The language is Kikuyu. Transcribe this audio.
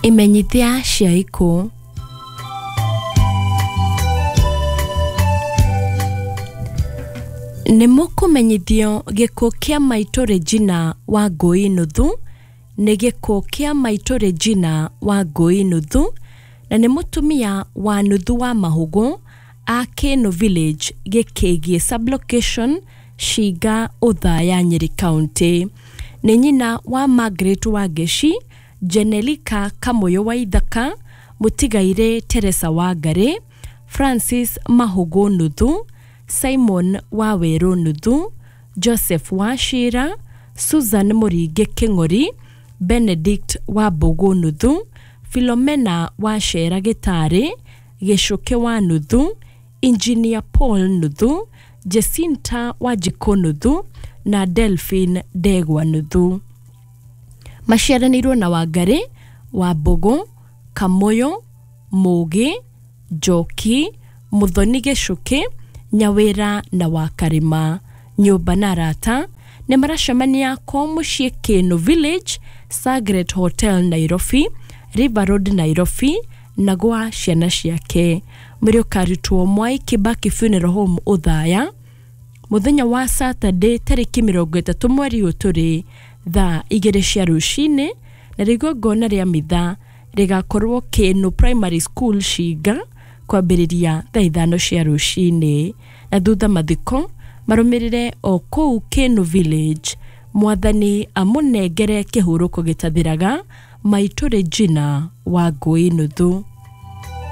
Imenyithia cia ikuũ. Nĩ mũkũmenyithio gĩkuũ kĩa maitũ Regina Wangũi Nuthu nĩ gĩkuũ kĩa maitũ Regina Wangũi Nuthu na nĩ mũtumia wa nuthu wa Mahũgũ a Kĩnũ Village, Gĩkĩgiĩ Sub-location, Shinga, Othaya, Nyeri County. Nĩ nyina wa Margaret Wangeci, Jenelika Kamũyũ Waithaka, mũtigairĩ Teresa Wangarĩ, Francis Mahũgũ Nuthu, Simon Wawerũ Nuthu, Joseph Wachira, Susan Mũringi Kĩng'ori, Benedict Wambũgũ Nuthu, Philomena Wachera Gĩtarĩ, Gĩcũkĩ wa Nuthu, Engineer Paul Nuthu, Jacinta Wanjikũ Nuthu na Delphine Ndegwa Nuthu. Maciaranĩirwo na Wangarĩ, Wambũgũ, Kamũyũ, Mũgĩ, Njoki, Mũthoni Gĩcũkĩ, Nyawĩra na Wakarĩma. Nyũmba na arata nĩ maracemania kwao mũciĩ Kĩnũ Village, Sagret Hotel Nairobi, River Road Nairobi na gwa ciana ciake. Mwĩrĩ ũkarutwo Mwai Kibaki Funeral Home Othaya mũthenya wa Saturday tarĩki 30 mweri ũyũ tũrĩ thaa 2 cia rũcinĩ na igongona rĩa mitha rĩgakorwo Kĩnũ Primary School Shinga kwambĩrĩria thaa 5 cia rũcinĩ na thutha mathiko marũmĩrĩre o kũu Kĩnũ Village. Mwathani amũnengere kĩhurũko gĩtathiraga maitũ Regina Wangũi Nuthu.